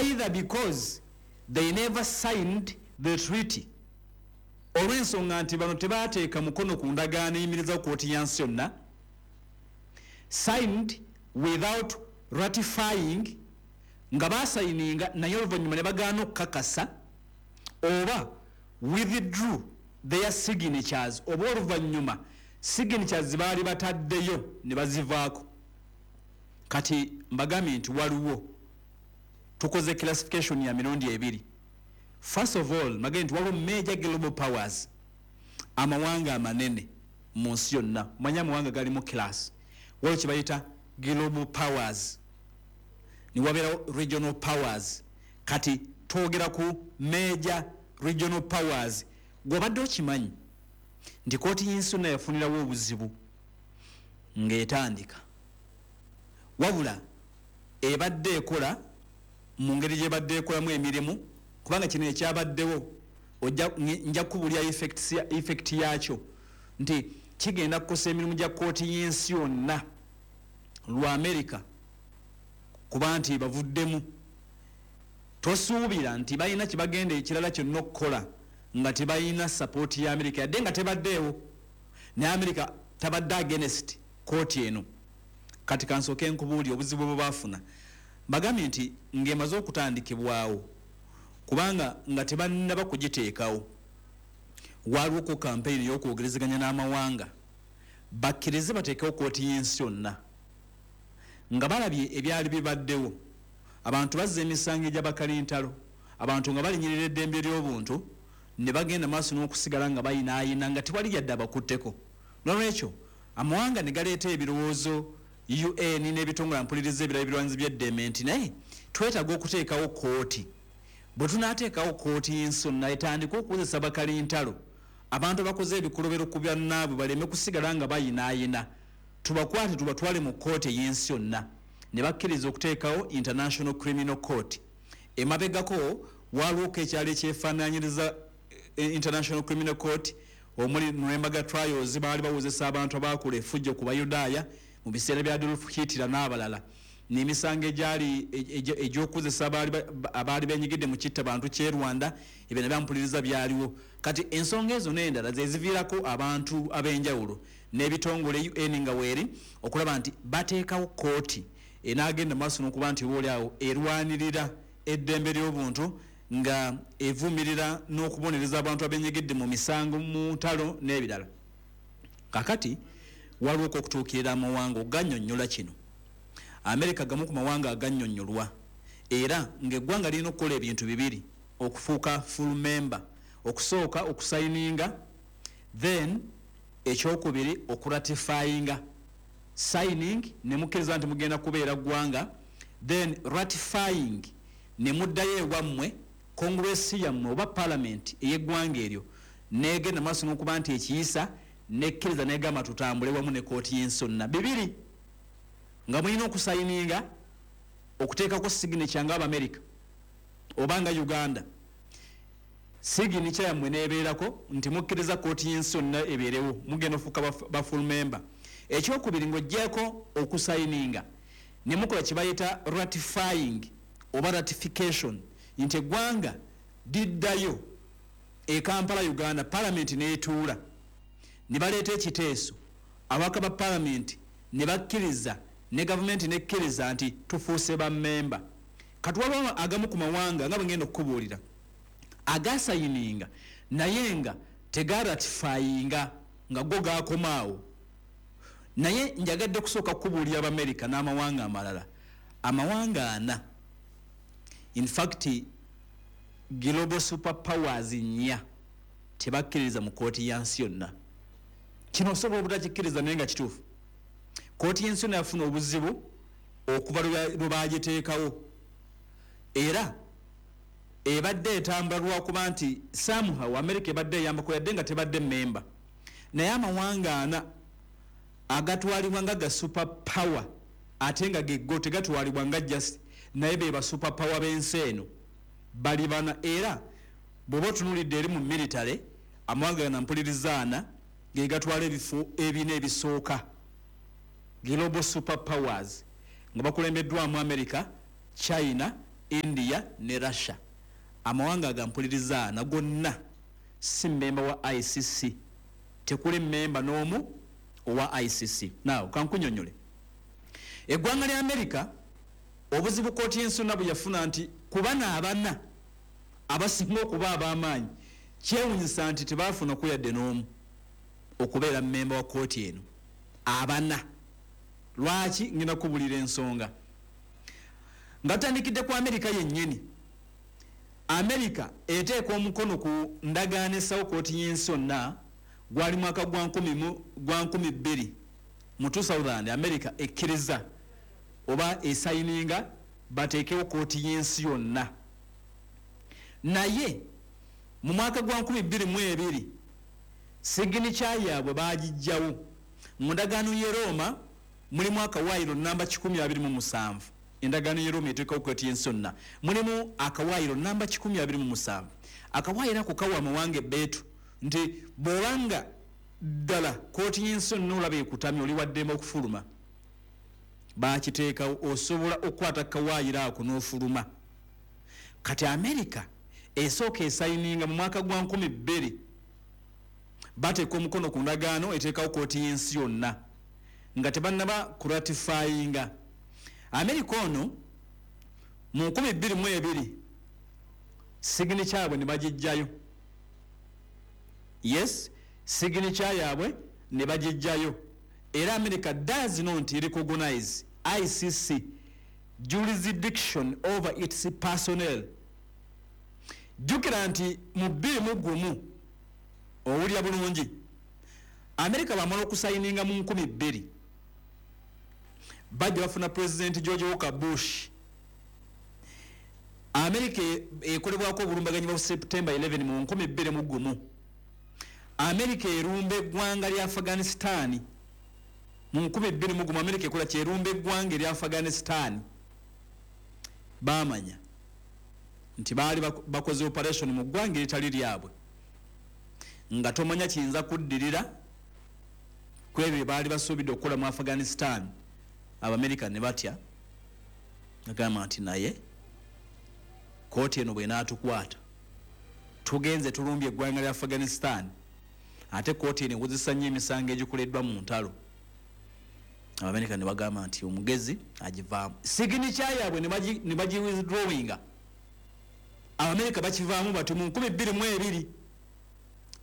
Either because they never signed the treaty, olw'ensonga nti bano tebateeka mukono ku ndagaano eyimirizawo kooti ya nsi yonna, signed without ratifying, nga basayininga naye oluvannyuma ne bagaana okukakasa, oba withdrew their signatures, oba oluvannyuma signatures baali bataddeyo ne bazivaako. Kati mbagambye nti waliwo, tukoze classification ya mirundi ebiri. First of all, mbagambye nti waliwo major global powers, amawanga amanene mu nsi yonna. Manye amawanga galimu class, waliwo kyebayita global powers, niwabeerawo regional powers. Kati twogera ku major regional powers. Gwobadde okimanyi nti kooti y'ensi yonna yafunirawo obuzibu ng'etandika, wabula ebadde ekola mu ngeri gyebadde ekolamu emirimu, kubanga kino ekyabaddewo nja kubulya effect yakyo nti kigenda kukosa emirimu gya kooti y'ensi yonna lwa America, kuba nti bavuddemu. Tosuubira nti balina kyebagenda ekirala kyonna okukola nga tebalina support ya America, yadde nga tebaddeewo, naye America tabadde against kooti eno. Kati kansooke nkubuuli obuzibu bwe baafuna. Bagambye nti ng'emaze okutandikibwawo, kubanga nga tebannaba kugiteekawo, waliwoko kampeyini ey'okwogerezeganya n'amawanga bakkirize bateekewo kooti y'ensi yonna. Nga balabye ebyali bibaddewo, abantu bazza emisango egy'abakalintalo, abantu nga balinyirira eddembe ly'obuntu, ne bagenda maaso n'okusigala nga bayinaayina nga tewali yadde abakutteko. Nolwekyo amawanga ne galeeta ebirowoozo, UN n'ebitongole mpuliriza ebirala ebirwanyizi by'eddembe, nti naye twetaaga okuteekawo kooti. Bwe tunaateekawo kooti y'ensi yonna etandike okukozesa bakalintalo, abantu abakoze ebikolobero ku byannaabwe baleme kusigala nga bayinaayina, tubakwate tubatwale mu kooti ey'ensi yonna. Ne bakkiriza okuteekawo International Criminal Court. Emabegako waliwoko ekyalo ekyefaananyiriza International Criminal Court, omuli Nuremberg Trials, baali bawozesa abantu abakola effujjo ku Bayudaaya mu biseera bya Adolf Hitler n'abalala, n'emisango egyali egy'okukozesa abaali benyigidde mu kitta bantu ky'e Rwanda. Ebyo nabyampuliriza byaliwo. Kati ensonga ezo n'endala zeziviirako abantu ab'enjawulo n'ebitongole, UN nga weeri, okulaba nti bateekawo kooti enaagenda maaso n'okuba nti oba oliawo erwanirira eddembe ly'obuntu nga evumirira n'okubonereza abantu abenyegedde mu misango mu ntalo n'ebirala. Kakati waliwo okutuukirira amawanga ogannyonnyola kino. Amerika gamu ku mawanga agannyonnyolwa, era ng'eggwanga lirina okukola ebintu bibiri okufuuka full member: okusooka okusayininga, then ekyokubiri okuratifyinga. Signing ne mukkiriza nti mugenda kubeera ggwanga, then ratifying ne muddayo ewammwe, Congress yammwe oba parliament ey'eggwanga eryo negenda maaso n'okuba nti ekiyisa nekkiriza negamba tutambule wamu ne kooti y'ensi yonna. Bibiri, nga mulina okusayininga, okuteekako signature nga Abamerika oba nga Uganda, signature yammwe nebeerako nti mukkiriza kooti y'ensi yonna ebeerewo, mugenda ofuuka ba full member. Ekyokubiri, ng'oggyeko okusayininga, ne mukola kye bayita ratifying oba ratification, nti eggwanga liddayo e Kampala, Uganda, palamenti n'etuula ne baleeta ekiteeso, ababaka ba palamenti ne bakkiriza ne gavumenti nekkiriza nti tufuuse bammemba. Kati waliwo agamu ku mawanga, nga bwe ngenda okukubuulira, agasayininga naye nga tegaratifyinga, nga go gakomaawo. Naye njagadde kusooka kukubuulira Abamerika n'amawanga amalala, amawanga ana, in fact global super powers nnya, tebakkiririza mu kooti ya nsi yonna. Kino osobola obutakikkiriza, naye nga kituufu. Kooti y'ensi yonna yafuna obuzibu okuva lwe bagiteekawo, era ebadde etambula lwakuba nti somehow America ebadde eyambako, yadde nga tebadde memba. Naye amawanga ana agatwalibwa nga ga super power, ate nga geggo tegatwalibwa nga just, naye be ba super power b'ensi eno, bali bana. Era bw'oba otunuulidde eri mu military, amawanga gana mpulirizaana ge gatwala ebifo ebina ebisooka, global super powers, nga bakulembeddwamu America, China, India ne Russia. Amawanga agampuliriza ana gonna si mmemba wa ICC, tekuli mmemba n'omu owa ICC. Now kankunyonyole, eggwanga lya America obuzibu kooti y'ensi yonna bwe yafuna nti kubana abana abasinga okuba ab'amaanyi, kyewunyisa nti tebaafuna yadde n'omu okubeera mmemba wa kooti eno abana. Lwaki? Ngenda kubulira ensonga nga tutandikidde ku Amerika yennyini. Amerika eteeka omukono ku ndagaano essawo kooti y'ensi yonna, gwali mwaka gwa 2000, mu 2000. Amerika ekkiriza oba esayininga bateekewo kooti y'ensi yonna, naye mu mwaka gwa 2002 signature yaabwe bagijjawo. Mu ndagaano y'e Roma mulimu akawaayiro namba 127. Endagaano y'e Roma eteekawo kooti y'ensi yonna mulimu akawaayiro namba 127. Akawaayiro ako kawa amawanga ebbeetu nti bw'obanga ddala kooti y'ensi yonna olaba ekutamye, oli waddembe okufuluma. Bakiteekawo, osobola okukwata kawaayiro ako n'ofuluma. Kati Amerika esooka esayininga mu mwaka gwa 2000, bateeka omukono ku ndagaano eteekawo kooti y'ensi yonna nga tebannaba kuratifyinga. Amerika ono mu 2002 signature yaabwe ne bagijjayo. Yes, signature yaabwe ne bagijjayo, era America does not recognize ICC jurisdiction over its personnel. Jjukira nti mu 21, owulira bulungi, America bamala okusayininga mu 2000, bajja bafuna President George Walker Bush. America ekolebwako obulumbaganyi bwa September 11 mu 2001. America erumba eggwanga lya Afghanistan mu 2001. America ekola kyerumba eggwanga erya Afghanistan. Bamanya nti baali bakoze operation mu ggwanga eritali lyabwe, nga tomanya kiyinza kuddirira ku ebyo bye baali basuubidde okukola mu Afghanistan. Abamerika ne batya, agamba nti naye kooti eno bwenaatukwata, tugenze tulumbye eggwanga lya Afghanistan, ate kooti eno ewuzisa nnyo emisango egikoleddwa mu ntalo. Abamerika ne bagamba nti omugezi agivaamu, signature yaabwe ne bagi withdrawinga. Abamerika bakivaamu bati mu 2002,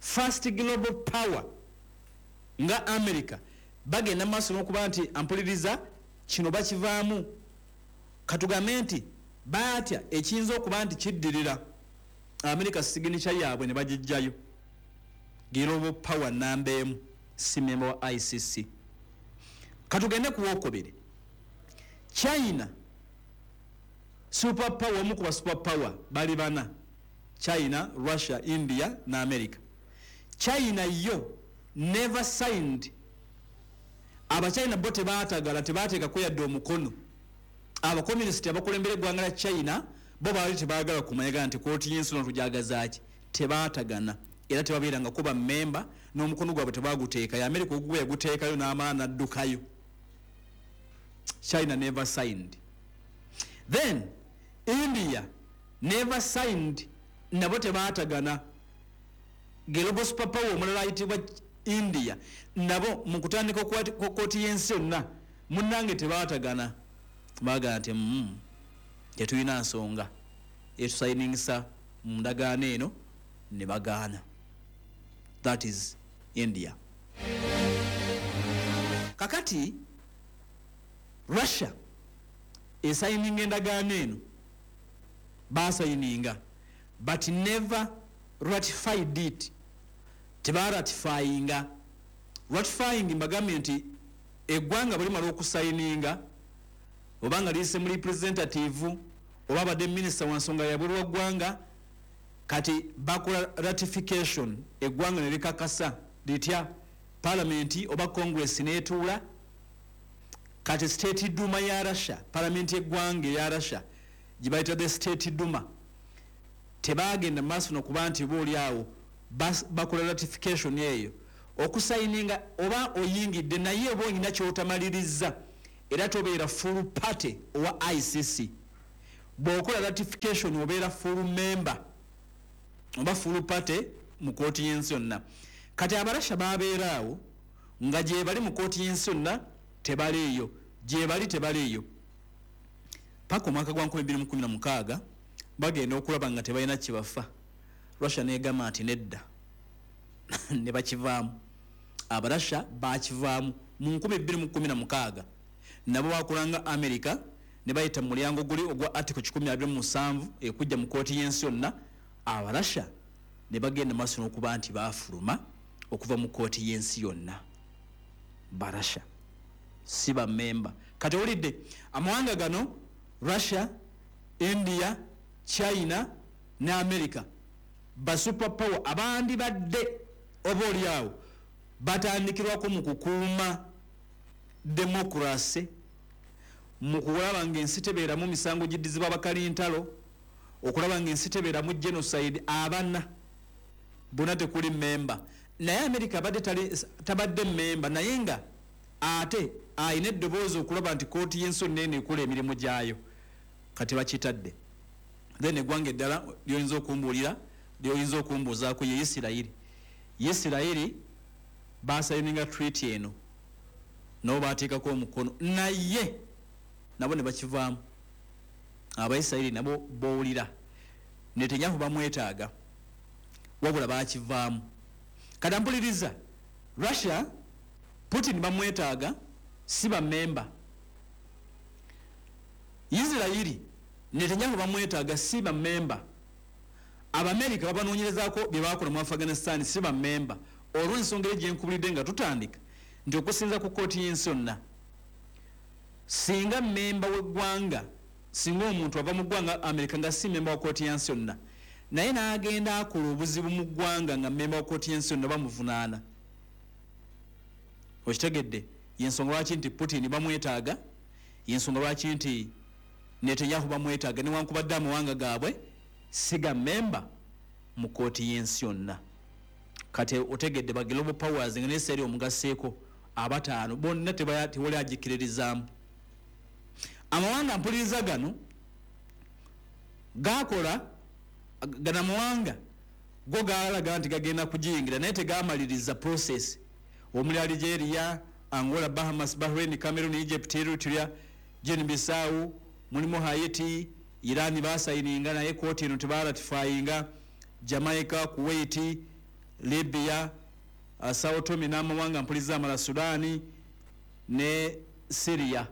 first global power nga America bagenda maaso n'okuba nti ampuliriza kino bakivaamu. Katugambe nti baatya ekiyinza okuba nti kiddirira. America signature yaabwe ne bagijjayo. Global power namba 1 si memba wa ICC. Katugende ku wokubiri, China, super power. Omu ku ba super power bali bana: China, Russia, India ne America. China yo never signed. Abachina bo tebatagala, tebateekako yadde omukono. Abakomunisiti abakulembera eggwanga lya China bo baali tebaagala kumanyaga nti kooti y'ensi no tujagazaaki. Tebaatagana era tebabeerangako bammemba, n'omukono gwabwe tebaguteekayo. America ogugwe yaguteekayo n'amala n'addukayo. China never signed. Then India never signed, nabo tebaatagana. Global superpower omulala ayitibwa India, nabo mu kutandika kwa kooti y'ensi yonna munnange tebaatagana. Bagamba nti tetulina nsonga etusayiningisa mu ndagaano eno, ne bagaana. That is India. Kakati Russia esayininga endagaano eno, basayininga but never ratified it, tebaratifyinga. Ratifying, mbagambye nti eggwanga bwe limala okusayininga, oba nga liyise mu representative oba abadde minisita wa nsonga yabweru wa ggwanga, kati bakola ratification, eggwanga ne likakasa litya? Palamenti oba Congress netuula. Kati State Duma ya Russia, palamenti eggwanga eya Russia gye bayita the State Duma, tebagenda maaso nokuba nti oba oli awo bakola ratification eyo. Okusayininga oba oyingidde, naye oba olina kyotamaliriza, era tobeera full party owa ICC. Bw'okola ratification obeera full member oba full party mu kooti y'ensi yonna. Kati Abarasha babeera awo nga gye bali mu kooti y'ensi yonna tebaliiyo, gye bali tebaliiyo, paka omwaka gwa 2016 bagenda okulaba nga tebalina kyebafa. Russia negamba nti nedda, ne bakivaamu. Abarasha bakivaamu mu 2016, nabo bakolanga America ne bayita mu mulyango guli ogwa article 127 ekujja mu kooti y'ensi yonna. Abarasha ne bagenda maaso n'okuba nti bafuluma okuva mu kooti y'ensi yonna. Barasha si bamemba. Kati owulidde amawanga gano, Russia, India, China ne America, ba super power abandi badde oba oliawo batandikirwako mu kukuuma democracy, mu kulaba ng'ensi tebeeramu misango giddizibwa bakalintalo, okulaba ng'ensi tebeeramu genocide. Abana bonna tekuli memba, naye America abadde tabadde memba, naye nga ate ayina eddoboozi okulaba nti kooti y'ensi yonna eno ekola emirimu gyayo. Kati bakitadde. Then eggwanga eddala lyoyinza okumbuulira, lyoyinza okumbuuzaako, ye Isirayiri. Isirayiri basayininga treaty eno, nabo bateekako omukono, naye nabo ne bakivaamu. Abaisirayiri nabo bowulira Netanyahu bamwetaaga, wabula bakivaamu. Kati ampuliriza, Russia, Putin bamwetaaga, si bamemba. Isirayiri, Netanyahu bamwetaaga, si bamemba. Abamerika babanoonyerezaako bye bakola mu Afghanistan, si bamemba. Olw'ensonga eri gyenkubulidde nga tutandika nti okusinza ku kooti y'ensi yonna, singa memba w'eggwanga, singa omuntu ava mu ggwanga Amerika nga si memba wa kooti y'ensi yonna, naye n'agenda akola obuzibu mu ggwanga nga memba wa kooti y'ensi yonna, bamuvunaana. Okitegedde? Yensonga lwaki nti Putin bamwetaaga, yensonga lwaki nti Netanyahu bamwetaaga, newankubadde amawanga gaabwe si ga memba mu kooti y'ensi yonna. Kati otegedde ba global powers nga neseri omugaseeko abataano bonna tewali agikiririzaamu. Amawanga mpuliriza gano gakola, gano amawanga go galaga nti gagenda kugiyingira, naye tegamaliriza process. Omuli Algeria, Angola, Bahamas, Bahrain, Cameroon, Egypt, Eritrea, Guinea Bissau, mulimu Haiti, Iran basayininga naye kooti eno tebaratifyinga, Jamaica, Kuwait, Libya, Sao Tome n'amawanga mpuliza amala, Sudan ne Syria,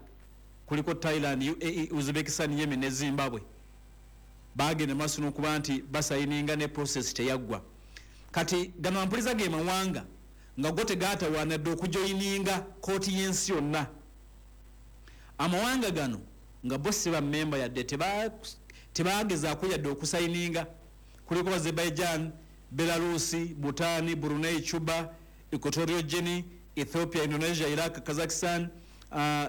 kuliko Thailand, UAE, Uzbekistan, Yemen ne Zimbabwe. Bagenda maaso n'okuba nti basayininga ne process teyaggwa. Kati gano ampuliza ge mawanga nga go tegatawaana dde okujoyininga kooti y'ensi yonna. Amawanga gano nga bo si bamemba yadde, tebagezaako yadde okusayininga. Kuliko Azerbaijan, Belarus, Bhutan, Brunei, Cuba, Equatorial Guinea, Ethiopia, Indonesia, Iraq, Kazakhstan,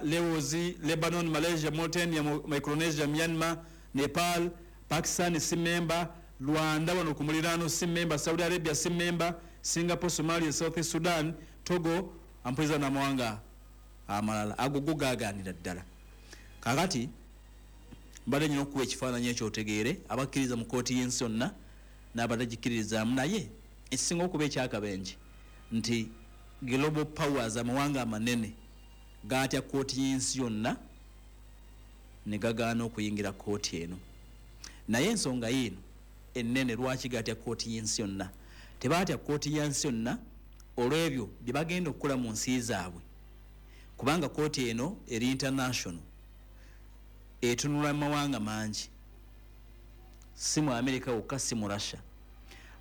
Laos, Lebanon, Malaysia, Mauritania, Micronesia, Myanmar, Nepal, Pakistan si memba, Rwanda wano ku muliraano si memba, Saudi Arabia si memba, Singapore, Somalia, South Sudan, Togo, ampuliza n'amawanga amalala ago go gaaganira ddala. Kakati mbadde nyina okukuba ekifaananyi ekyo otegeere abakkiriza mu kooti y'ensi yonna n'abatagikiririzaamu. Naye ekisinga okuba ekyakabenje nti global powers, amawanga amanene, gaatya kooti y'ensi yonna ne gagaana okuyingira kooti eno. Naye ensonga yiino ennene lwaki gatya kooti y'ensi yonna: tebaatya kooti y'ensi yonna olw'ebyo bye bagenda okukola mu nsi zaabwe, kubanga kooti eno eri international, etunula mu mawanga mangi, si mu America wokka, si mu Russia.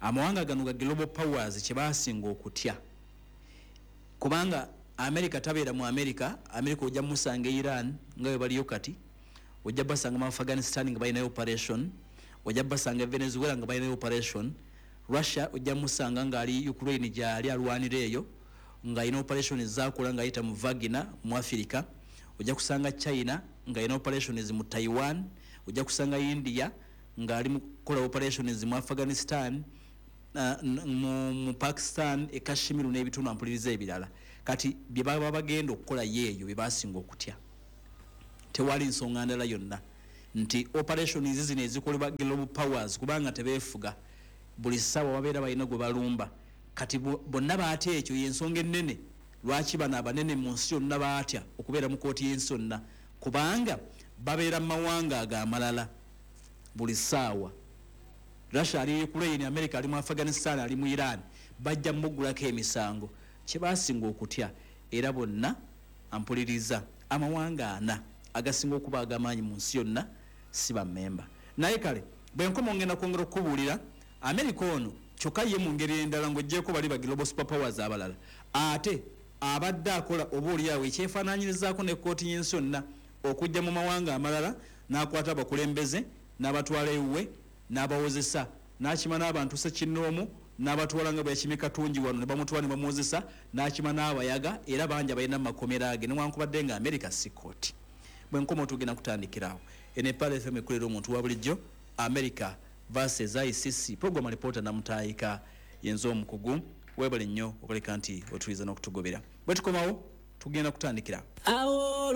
Amawanga gano ga global powers kyebasinga okutya, kubanga America tabeera mu America. America ojja musanga e Iran nga bwe baliyo kati, ojja basanga mu Afghanistan nga balinayo operation, ojja basanga e Venezuela nga balinayo operation. Russia ojja musanga ngaali Ukraine gyali alwanira eyo, ng'alina operation zakola ng'ayita mu Wagner mu Africa. Ojja kusanga China ng'alina operations mu Taiwan, ojja kusanga India ng'ali mu kukola operations mu Afghanistan, mu Pakistan, e Kashmir n'ebitundu ampuliriza ebirala. Kati bye baba bagenda okukola yeeyo bye basinga okutya, tewali nsonga ndala yonna. Nti operations zino ezikolebwa global powers, kubanga tebeefuga, buli ssaawa babeera balina gwe balumba. Kati bonna baatya. Ekyo yensonga ennene lwaki bano abanene mu nsi yonna baatya okubeera mu kooti y'ensi yonna, kubanga babeera mu mawanga ago amalala buli ssaawa. Russia ali Ukraine, America ali mu Afghanistan, ali mu Iran, bajja muggulako emisango. Kyebasinga okutya, era bonna ampuliriza, amawanga ana agasinga okuba agamaanyi mu nsi yonna si bammemba. Naye kale bwenkoma ngenda kwongera okukubuulira America ono. Kyokka ye mu ngeri endala, ng'oggyeko bali ba global super powers abalala, ate abadde akola oba oliawo ekyefaananyirizaako ne kooti y'ensi yonna, okujja mu mawanga amalala n'akwata abakulembeze n'abatwala ewuwe n'abawozesa, n'akima n'abantu sekinnoomu n'abatwala, nga bwe yakimye Katungi wano ne bamutwala ne bamuwozesa, n'akima n'abayaga, era bangi abalina mu makomera ge, newankubadde nga America si kooti. Bwe nkoma tugenda kutandikirawo. Eno Epala FM ekulera omuntu wa bulijjo. America versus ICC program, alipoota Namutaayika yenze omukugu. Webale nnyo okuleka nti otuliza n'okutugobera. Bwe tukomawo tugenda kutandikira awo.